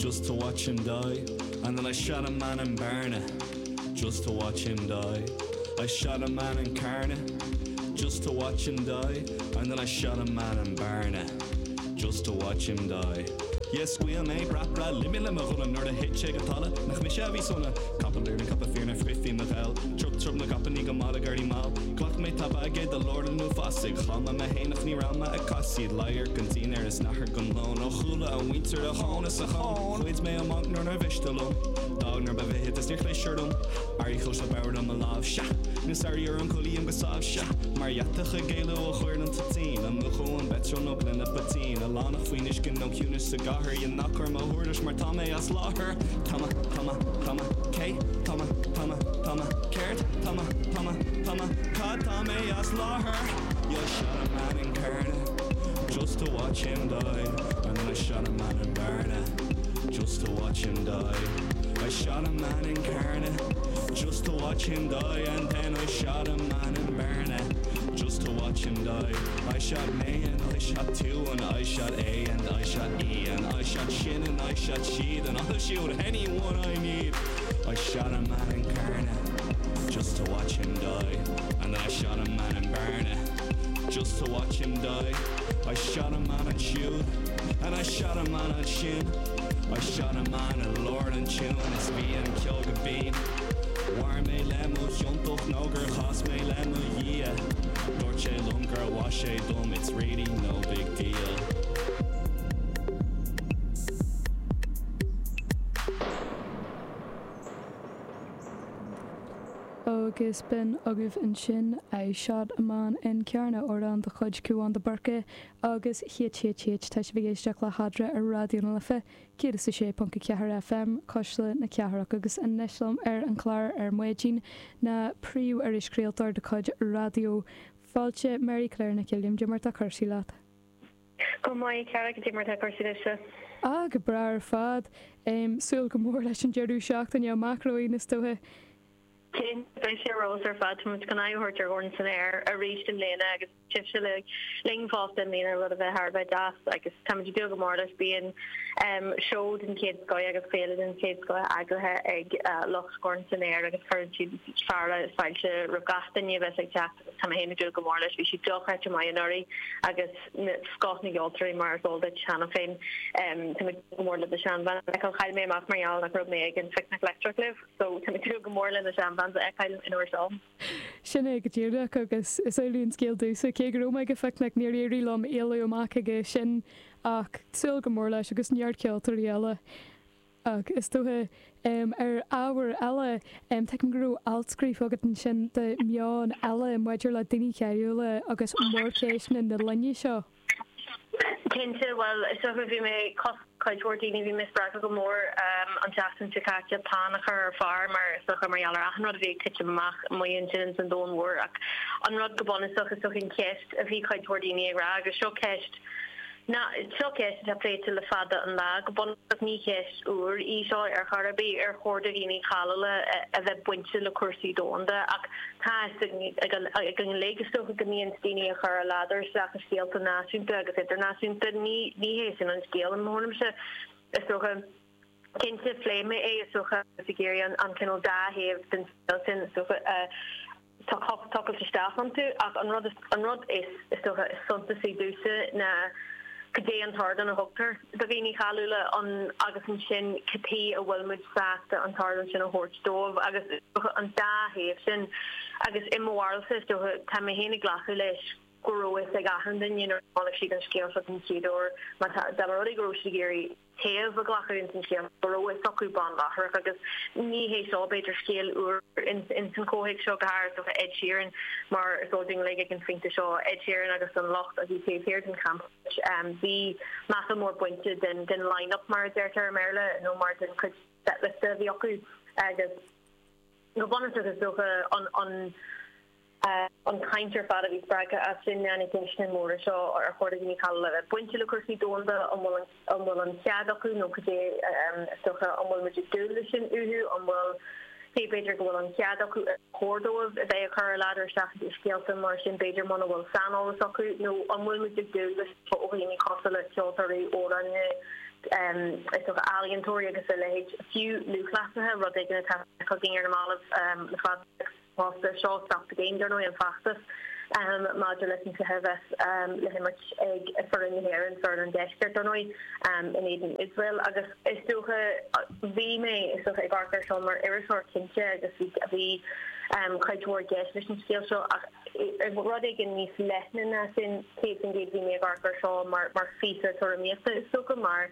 just to watch him die. And then I shot a man in Barna just to watch him die. I shot a man in Carna just to watch him die. And then I shot a man in Barna just to watch him die. Yes, scaoil mé brat breá loime le mo ghunna nuair a thit sé go talamh, nach mise a bhí sona. Capall iarainn, capall fireann ar frith bhí mo gheall. Trup trup na gcapainní go mall ag éirí mall. Ghlac mé tapa aige do lár an uafásaigh. Chaill mé mé fhéin ach ní raibh mé ag casaoid. Radharc an dinnéir is nathair don lón. Ó chuala a mhuintir a thóin is a chón. Ghoid mé a mbanc nuair nár mhiste liom. D'fhág nuair ba mhithid is níor chlis orm. Airí chos b'fhearr dom mo lámh, sea. Níl sairí orm codlaím go sámh, sea. Mar dheatach ag éalú ó choir an toitín. Amúchadh an petrol nó gloine poitín. Oileánach faoin uisce nó ciúnas sa gcathair. Dhein ná cuir mo thuairisc mar tá mé as láthair. Tá mé, tá mé, tá mé, cé? Tá mé, tá mé, tá mé, céard? Tá mé, tá mé, tá mé, cad tá mé as láthair? Yeah, I shot a man in Carna just to watch him die. And then I shot a man in Barna just to watch him die. I shot a man in Carna just to watch him die. And then I shot a man in Barna just to watch him die. I shot me and I shot two and I shot A and I shot E and I shot shin and I shot sheed and I'll shoot anyone I need. I shot a man in Carna just to watch him die. And then I shot a man in Barna just to watch him die. I shot a man at Shoot and I shot a man at Shin. I shot a man at Lord and Tune is bhí an ceol go binn. Mhair mé le mo chiontacht nó gur chas mé le mo Dhia. Dúirt sé liom gur mhaith sé dom, it's really no big deal. Agus b'in agaibh ansin I Shot a Man in Carna, amhrán de chuid Cúán de Búrca agus HHH. Tá sibh ag éisteacht le hEadra ar Raidió na Life 106.4 FM, Cuisle na Cathrach agus anois liom ar an chlár ar maidin ná príomh-irischraoltóir de chuid Raidió Fáilte, Mary Claire Nic Uilliam, Cad é mar tá cúrsaí leat? Go maith, a chara, cad é mar tá cúrsaí leatsa? Ah, go breá ar fad. Súil go mór leis an deireadh seachtaine amach romhainn, is dócha. Cinnte, beidh sé ar fheabhas ar fad. Tá muid chun aghaidh a thabhairt ar Dhorn san Aer arís i mbliana agus sibhse linn fosta i mbliana, rud a bheidh thar a bheith deas agus táimid ag dúil go mór leis. Bíonn seó den chéad scoth agus féile den chéad scoth eagraithe ag lucht Dhorn san Aer agus cuireann siad fearadh fáilte roimh gach duine a bheas ag teacht agus tá mé féin ag dúil go mór leis. Bhí siad dochreidte maith anuraidh agus scoth na gceoltóirí mar is eol duit cheana féin. Tá mé ag dúil go mór le The Shan Band a fheiceáil. Chaill mé amach mar gheall nach raibh mé ag an Phicnic Leictreach libh so tá mé ag dúil go mór le na Shan Bands a fheiceáil an uair seo. Sin é go díreach agus is amhlaidh an scéal domhsa. Cé go raibh mé ag an Phicnic níor éirigh liom éalú amach aige sin ach súil go mór leis agus neart ceoltóirí eile. Ach is dócha, ar ábhar eile, tuigim go raibh alt scríofa agat ansin do Meon Eile maidir le daoine cáiliúla agus mórcheisteanna na linne seo. Cinnte, bhuel, is dócha, bhí mé, cosúil le cuid mhór daoine, bhí mé spreagtha go mór an tseachtain seo caite peann a chur ar phár mar is dócha mar gheall ar achan rud a bhí ag titim amach amuigh ansin ins an domhan mhór ach an rud go bunúsach is dócha an cheist a bhí cuid mhór daoine ag rá agus seo ceist Ná, seo ceist atá pléite le fada an lá. Go bunúsach ní cheist úr í seo ar chor ar bith, ar chóir do dhaoine cáiliúla a bheith bainte le cúrsaí domhanda ach tá a fhios againn uilig, is dócha, go mbíonn daoine ag cur a ladar isteach i scéalta náisiúnta agus idirnáisiúnta. Ní hé sin an scéal i mo thuairimse, is dócha. Cinnte, phléigh mé é, is dócha, agus ag iarraidh an cineál dá thaobh den scéal sin, is dócha, a. tochailt isteach iontu ach an rud an rud is is dócha is suntasaí domhsa ná cad é an t-ardán a thugtar do dhaoine cáiliúla an agus ansin cad chuige a bhfuil muid sásta an t-ardán sin a thabhairt dóibh agus is dócha an dá thaobh sin agus i mo bharúilsa is dócha tá mé féin ag glacadh leis go raibh fhios ag achan duine nuair a chonaic siad an scéal seo den chéad uair má tá dá mba rud é go raibh siad ag iarraidh taobh a ghlacadh ins an scéal, go raibh fhios acu bonn láithreach agus ní hé seo b'fhéidir scéal úr ins an chomhthéacs seo, go háirithe do Ed Sheeran mar is eol dúinn uilig ag an phointe seo Ed Sheeran agus an lucht a bhí taobh thiar den champa bhí meafar mór bainte den den line-up mar a deirtear i mBéarla nó mar den chuid setlist a bhí acu agus go bunúsach is dócha an an An chaint ar fad a bhí spreagtha as sin ná na ceisteanna móra seo, ar chóir do dhaoine cáiliúla a bheith bainte le cúrsaí domhanda, an bhfuil an bhfuil an cead acu nó cad é is dócha, an bhfuil muid ag dúil leis sin uathu, an bhfuil, cé b'fhéidir go bhfuil an cead acu, ar chóir dóibh a bheith ag cur a ladar isteach i scéalta mar sin b'fhéidir muna bhfuil saineolas acu nó an bhfuil muid ag dúil leis ó dhaoine cosúil le ceoltóirí, amhránaithe. Is dócha ealaíontóirí agus a leithéid, fiú lúthchleasaithe, rud éigin atá feicthe againn ar na mallaibh le fada fosta. Seo Stop the Game, dar ndóigh, an feachtas maidir leis an cluiche a bheas le himirt ag foireann na hÉireann, foireann an Deiscirt, dar ndóigh, in éadan Iosrael. Agus is dócha, bhí mé, is dócha, ag amharc air seo mar iriseoir cinnte agus bhí cuid mhór i gceist leis an scéal seo ach rud éigin níos leithne ná sin, 100% bhí mé ag amharc air seo mar phíosa tuairimíochta is dócha mar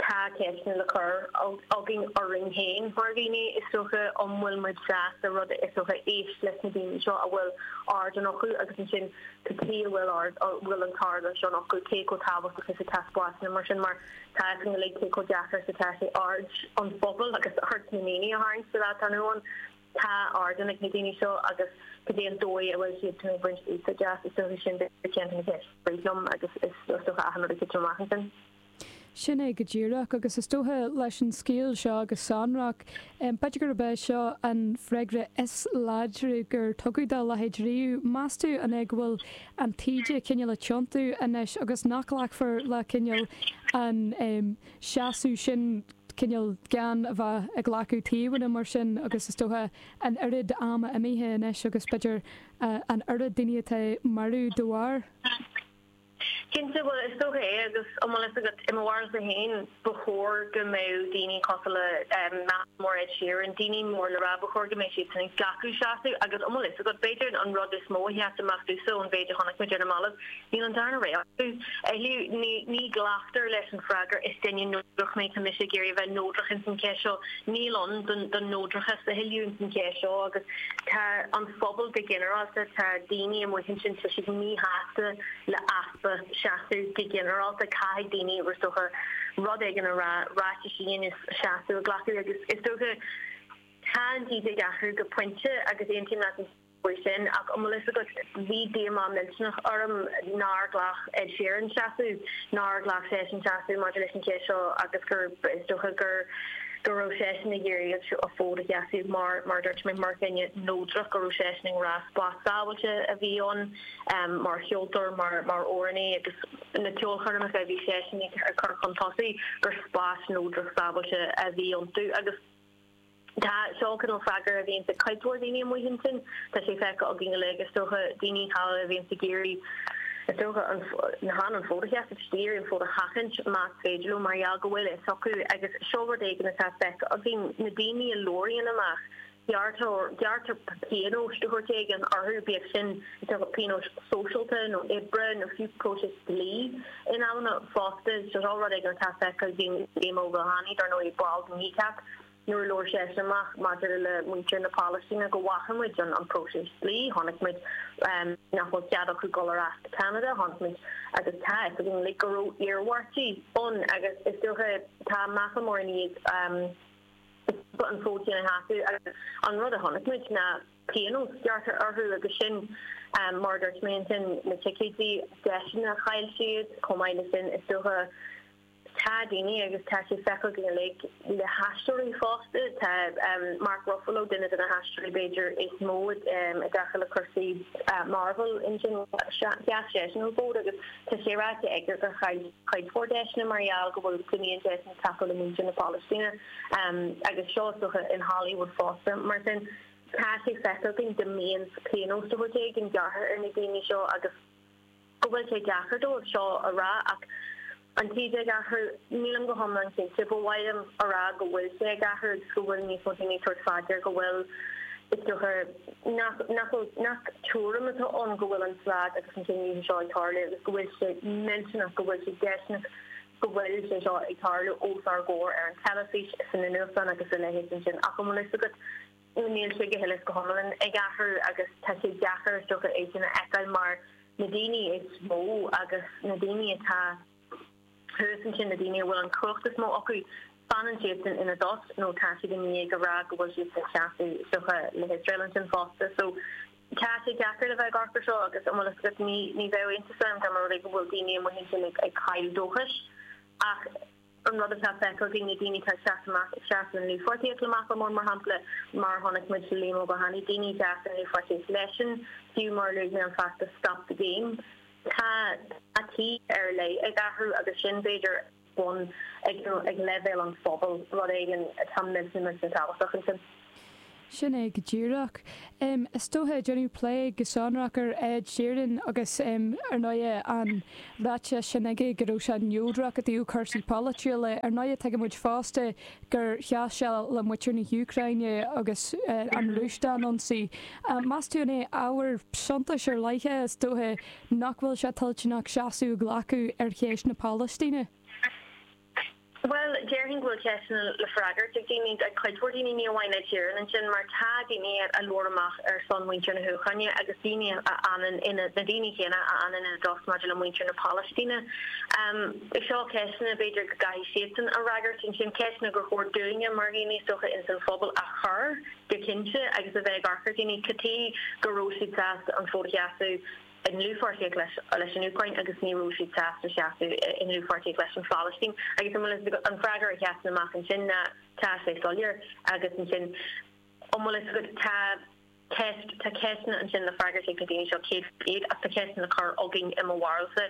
tá ceisteanna le cur againn orainn féin mar dhaoine is dócha, an bhfuil muid sásta rud is dócha éist leis na daoine seo a bhfuil ardán acu agus ansin cad chuige a bhfuil ard a bhfuil an t-ardán seo acu, cé chomh tábhachtach is atá spásanna mar sin mar tá a fhios againn uilig cé chomh deacair is atá sé aird an phobail agus aird na ndaoine a tharraingt sa lá atá inniu ann. Tá ardán ag na daoine seo agus cad é an dóigh a bhfuil siad ag baint úsáid as, is dócha sin b'fhéidir ceann de na ceisteanna a rith liom agus is dócha achan rud ag titim amach ansin. Sin é go díreach, agus is dócha leis an scéal seo go sonrach, b'fhéidir gurb é seo an freagra is láidre gur tugadh dá leithéid riamh. Meas tú an é go bhfuil an taoide cineál ag tiontú anois agus nach nglacfar le cineál an seasamh sin cineál gan a bheith ag glacadh taobhanna mar sin agus is dócha an oiread ama imithe anois agus b'fhéidir an oiread daoine atá marbh dá bharr. Cinnte, bhuel is dócha é agus an bhfuil fhios agat, i mo bharúilsa féin, ba chóir go mbeadh daoine cosúil le Macklemore, Ed Sheeran, daoine mór le rá, ba chóir go mbeadh siadsan ag glacadh seasamh agus an bhfuil fhios agat, b'fhéidir an rud is mó a sheas amach domhsa ón mhéid a chonaic muid ar na mallaibh, Níl an darna rogha acu. A thuilleadh, ní ghlactar leis an freagra 'is duine neodrach mé, tá mise ag iarraidh a bheith neodrach ins an cheist seo'. Níl ann don neodrachas a thuilleadh ins an cheist seo agus tá an phobal go ginearálta, tá daoine amuigh ansin, tá siad míshásta le easpa seasamh go ginearálta. Caithfidh daoine, is dócha, rud éigin a rá, ráitis a dhéanamh, seasamh a ghlacadh agus is dócha tá an taoide ag athrú go pointe agus aontaím leat. faoi sin, ach an bhfuil fhios agat, bhí díomá millteanach orm nár ghlac Ed Sheeran seasamh, nár ghlac seisean seasamh maidir leis an cheist seo agus gur, is dócha gur, go raibh seisean ag iarraidh a fód a sheasamh mar, mar a dúirt mé, mar dhuine neodrach, go raibh seisean ag rá spás sábháilte a bhí ann mar cheoltóir, mar, mar amhránaí agus na ceolchoirmeacha a bhí seisean ag cur chun tosaigh, gur spás neodrach sábháilte a bhí iontu agus. Tá seo cineál freagra a bhíonns ag cuid mhór daoine amuigh ansin. Tá sé feicthe againn uilig, is dócha, daoine thall a bhíonns ag iarraidh, is dócha, an, chan an fód a sheasamh, just ag iarraidh an fód a sheachaint más féidir leo mar gheall go bhfuil fhios acu agus seo rud éigin atá feicthe againn, na daoine a labhraíonn amach, gearrtar, gearrtar pionóis de shórt éigin orthu, bíodh sin, is dócha, pionóis sóisialta nó oibre nó fiú próiseas dlí in amanna fosta. Seo rud éigin atá feicthe againn, Liam Ó Maonlaí, dar ndóigh, ball de Kneecap, Nuair a labhair seisean amach maidir le muintir na Palaistíne go bhfaca muid an próiseas dlí, chonaic muid nach bhfuil cead acu dul ar ais go Ceanada, chonaic muid agus tá a fhios againn uilig go raibh iarmhairtí ann agus is dócha tá Macklemore i ndiaidh an fód sin a sheasamh agus an rud a chonaic muid ná pionós gearrtha orthu agus sin mar a dúirt mé ansin na ticéidí, deiseanna a chaill siad chomh maith le sin is dócha. Tá daoine, agus tá sé feicthe againn uilig le haisteoirí fosta, tá Mark Ruffalo, duine de na haisteoirí b'fhéidir is mó i dtaca le cúrsaí Marvel ansin, sheas seisean an fód agus tá sé ráite aige gur chaill cuid mhór deiseanna mar gheall go bhfuil go mbíonn seisean ag tacú le muintir na Palaistíne agus seo is dócha in Hollywood fosta. Mar sin tá sé feicthe againn go mbíonn pionós de shórt éigin gearrtha ar na daoine seo agus go bhfuil sé deacair dóibh seo a rá ach an taoide ag athrú, nílim go hiomlán cinnte. Ba mhaith liom a rá go bhfuil sé ag athrú agus go bhfuil níos mó daoine ag tabhairt fá dear go bhfuil, is dócha, nach, nach bhfuil, nach tuairim atá ann go bhfuil an slad agus an cinedhíothú seo ag tarlú agus go bhfuil sé millteanach, go bhfuil sé déistineach go bhfuil sé seo ag tarlú os ár gcomhair ar an teilifís, sna nuachtáin agus a leithéid ansin. Ach an bhfuil fhios agat, Níl sé go huile is go hiomlán ag athrú agus tá sé deacair is dócha é sin a fheiceáil mar na daoine is mó agus na daoine atá thuas ansin, na daoine a bhfuil an chumhacht is mó acu, fanann siadsan ina dtost nó tá siad i ndiaidh a rá go bhfuil siad ag seasamh is dócha le hIosrael ansin fosta. So tá sé deacair le bheith ag amharc ar seo agus an bhfuil fhios agat ní ní bheadh iontas orm dá mba rud é go bhfuil daoine amuigh ansin ag ag cailleadh dóchais ach An rud atá feicthe againn, na daoine atá ag seasamh amach, ag seasamh i ndlúthpháirtíocht le Macklemore, mar shampla, mar a chonaic muid le Liam Ó Maonlaí, daoine a sheas i ndlúthpháirtíocht leisean, fiú mar a luaigh mé an feachtas Stop the Game. Tá taoide ar leith ag athrú agus sin, b'fhéidir. bun ag ag leibhéal an phobail, rud éigin atá millteanach millteanach tábhachtach ansin. Sin é go díreach. Is dócha, déanadh plé go sonrach ar Ed Sheeran agus ar ndóighe an ráiteas sin aige go raibh sé neodrach i dtaobh cúrsaí polaitiúla. Ar ndóighe tuigimid fosta gur sheas sé le muintir na hÚcráine agus an Rúis dá n-ionsaí. Meas tú an é ábhar suntais ar leith é, is dócha, nach bhfuil sé toilteanach seasamh a ghlacadh ar cheist na Palaistíne? Bhuel, déarfainn go bhfuil ceisteanna le freagairt ag daoine, ag cuid mhór daoine, ní amháin Ed Sheeran ansin, mar tá daoine a labhair amach ar son mhuintir na hÚcráine agus daoine a fhanann ina, na daoine céanna a fhanann ina dtost maidir le muintir na Palaistíne. Seo ceisteanna, b'fhéidir, go gcaithfidh siadsan a fhreagairt ansin, ceisteanna gur chóir dúinne mar dhaoine, is dócha, ins an phobal a chur, go cinnte, agus a bheith ag amharc ar dhaoine, cad chuige go raibh siad sásta an fód a sheasamh i ndlúthpháirtíocht leis an Úcráin agus ní raibh siad sásta seasamh i ndlúthpháirtíocht leis an Phalaistín. Agus an bhfuil fhios agat, an freagra a sheasann amach ansin ná tá sé soiléir agus ansin an bhfuil fhios agat, tá ceist, tá ceisteanna ansin le freagairt ag na daoine seo 100% ach tá ceisteanna le cur againn i mo bharúilsa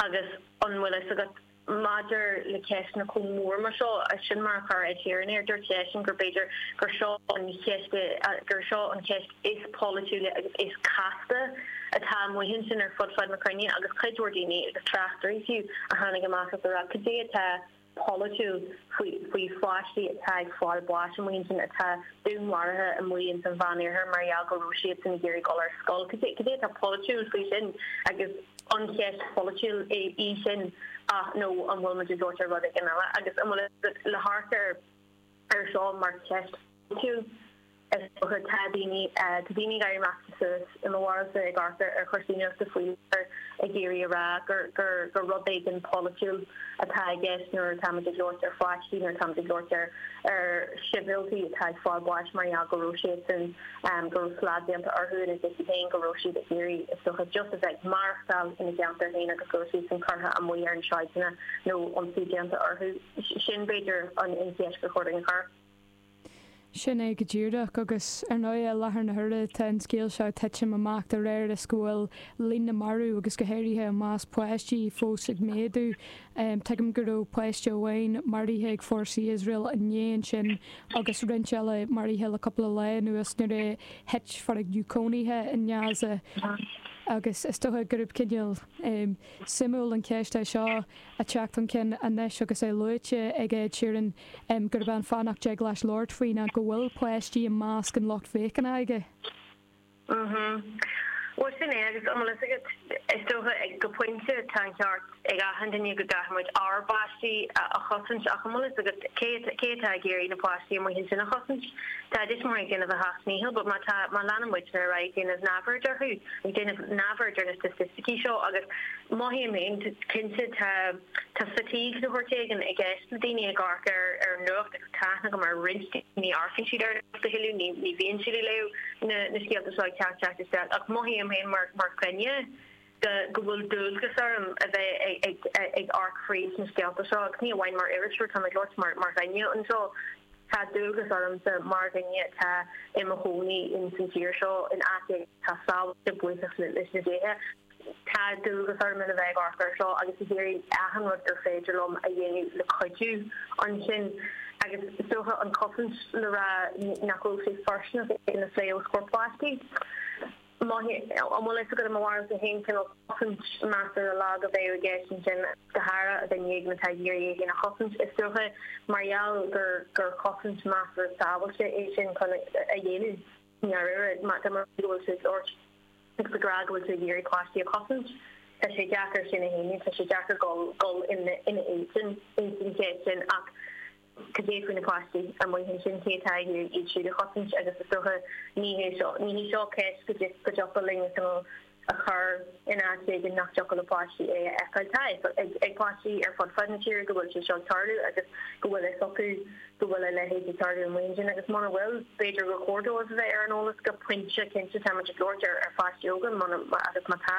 agus an bhfuil fhios agat, Maidir le ceisteanna chomh mór mar seo, sin mar a chuir Ed Sheeran air, dúirt seisean gur b'fhéidir gur seo an cheist, gur seo an cheist is polaitiúla agus is casta atá amuigh ansin ar fud fad na cruinne agus cuid mhór daoine agus tráchtairí fiú a tháinig amach agus a rá cad é atá polaitiúil faoi faoi pháistí atá ag fáil báis amuigh ansin, atá dúnmharaithe amuigh ins an Mheánoirthear mar gheall go raibh siadsan ag iarraidh dul ar scoil. Cad é cad é atá polaitiúil faoi sin agus an cheist pholaitiúil í sin ach nó an bhfuil muid ag labhairt ar rud éigin eile agus an bhfuil le hamharc ar ar seo mar cheist pholaitiúil is dócha tá daoine tá daoine ag éirí amach suas i mo bharúilsa ag amharc ar chúrsaí nuachta faoi láthair ag iarraidh a rá gur gur gur rud éigin polaitiúil atá i gceist nuair atáimid ag labhairt ar pháistí nuair atáimid ag labhairt ar ar sibhialtaigh atá ag fáil báis mar gheall go raibh siadsan go raibh slad déanta orthu ina dtithe féin, go raibh siad ag iarraidh, is dócha, just a bheith ag maireachtáil ina gceantar féin agus go raibh siadsan curtha amuigh ar na sráideanna nó ionsaí déanta orthu. Sin, b'fhéidir, an cheist gur chóir dúinn a chur. Sin é go díreach, agus ar ndóigh, i láthair na huaire tá an scéal seo ag titim amach de réir is go bhfuil líon na marbh agus go háirithe i measc páistí fós ag méadú. Tuigim go raibh páiste amháin maraithe ag fórsaí Iosrael inné ansin agus roinnt eile maraithe le cúpla lá anuas nuair a thit foirgneamh cónaithe i nGaza agus is dócha gurb cineál suimiúil an cheist é seo a teacht chun cinn anois agus é luaite ag Ed Sheeran gurb é an fáth nach dtig leis labhairt faoi ná go bhfuil páistí i measc an lucht féachana aige. Mhm. Bhuel, sin é, agus an bhfuil fhios agat, is dócha, go pointe, tá an ceart ag achan duine go gcaithfidh muid ár bpáistí a chosaint, ach an bhfuil fhios agat, cé, cé atá ag iarraidh na páistí amuigh ansin a chosaint? Tá a dtuismitheoirí ag déanamh a seacht ndícheall, but má tá, má leanann muidne ar aghaidh ag déanamh neamhaird orthu, ag déanamh neamhaird ar na staitisticí seo, agus mothaím féin, cinnte, tá, tá fatigue de shórt éigin i gceist le daoine ag amharc ar, ar an nuacht, Tá aithne agam ar roinnt daoine, ní amharcann siad ar an nuacht a thuilleadh, ní bhíonn siad ag léamh na scéalta seo ag teacht teacht isteach ach mothaím féin mar mar dhuine go go bhfuil dualgas orm a bheith ag ag amharc fríd na scéalta seo agus ní amháin mar iriseoir, tá mé ag labhairt mar mar dhuine anseo. Tá dualgas ormsa mar dhuine atá i mo chónaí ins an tír seo in áit atá sábháilte, buíochas leis na déithe. Tá dualgas orm a bheith ag amharc air seo agus ag iarraidh achan rud gur féidir liom a dhéanamh le cuidiú ansin. Agus is dócha an chosaint le rá nach raibh sé fóirsteanach é sin a phlé os comhair páistí. An bhfuil fhios agat i mo bharúilsa féin cineál cosaint measartha lag a bheadh i gceist ansin, go háirithe duine éigin atá ag iarraidh é féin a chosaint. Is dócha mar gheall gur gur chosaint measartha sábháilte é sin chun a dhéanamh i ndáiríre má tá go bhfuil tú ag labhairt agus ag rá go bhfuil tú ag iarraidh páistí a chosaint. Tá sé deacair sin a shéanadh, tá sé deacair dul dul ina ina éadan ins an cheist sin ach cad é faoi na páistí amuigh ansin, cé atá ag iarraidh iad siúd a chosaint agus is dócha ní hé seo ní hí seo ceist go go dtiocfadh linn a cineál a chur in áit éigin nach dtiocfadh le páistí é a fheiceáil. Tá a fhios ag páistí ar fud fad na tíre go bhfuil sé seo ag tarlú agus go bhfuil fhios acu go bhfuil a leithéid ag tarlú amuigh ansin agus muna bhfuil, b'fhéidir gur chóir dóibh a bheith ar an eolas go pointe cinnte. Tá muid ag labhairt ar ar pháistí óga muna agus má tá,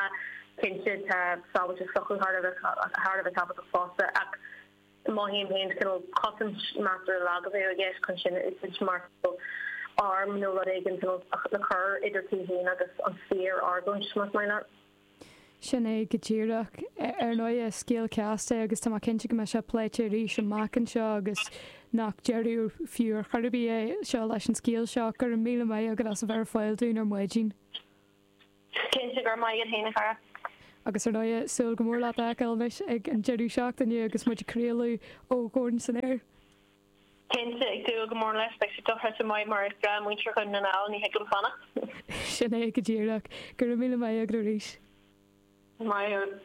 cinnte tá sábháilteacht s'acu thar a bheith thar a bheith tábhachtach fosta ach mothaím féin cineál cosaint measartha lag a bheadh i gceist chun sin a úsáid mar arm nó rud éigin cineál le cur idir tú féin agus an fíor-argóint más maith leat. Sin é go díreach. Ar ndóigh, is scéal casta é agus tá mé cinnte go mbeidh sé pléite arís amach anseo agus nach deireadh fiú ar chor ar bith é seo leis an scéal seo. Go raibh míle maith agat as a bheith ar fáil dúinn ar maidin. Cinnte, go raibh maith agat féin, a chara. Agus ar ndóigh, súil go mór leat a fheiceáil anois ag an deireadh seachtaine agus muid ag craoladh ó Dhorn san Aer. Cinnte, ag dúil go mór leis. Beidh sé dochreidte maith mar is breá muintir Dhún na nGall, ní thig liom fanacht. Sin é go díreach. Go raibh míle maith agat arís. Maith thú.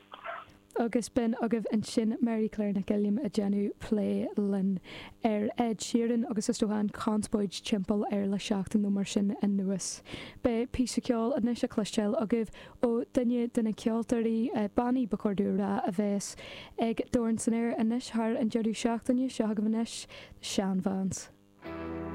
Agus b'in agaibh ansin Mary Claire Nic Uilliam ag déanamh plé linn ar Ed Sheeran agus is dócha an chonspóid timpeall air le seachtain nó mar sin anuas. Beidh píosa ceoil anois á chloisteáil agaibh ó duine de na ceoltóirí, bannaí ba chóir domh a rá, a bheas ag Dorn san Aer anois thar an deireadh seachtaine. Seo agaibh anois The Shan Vans.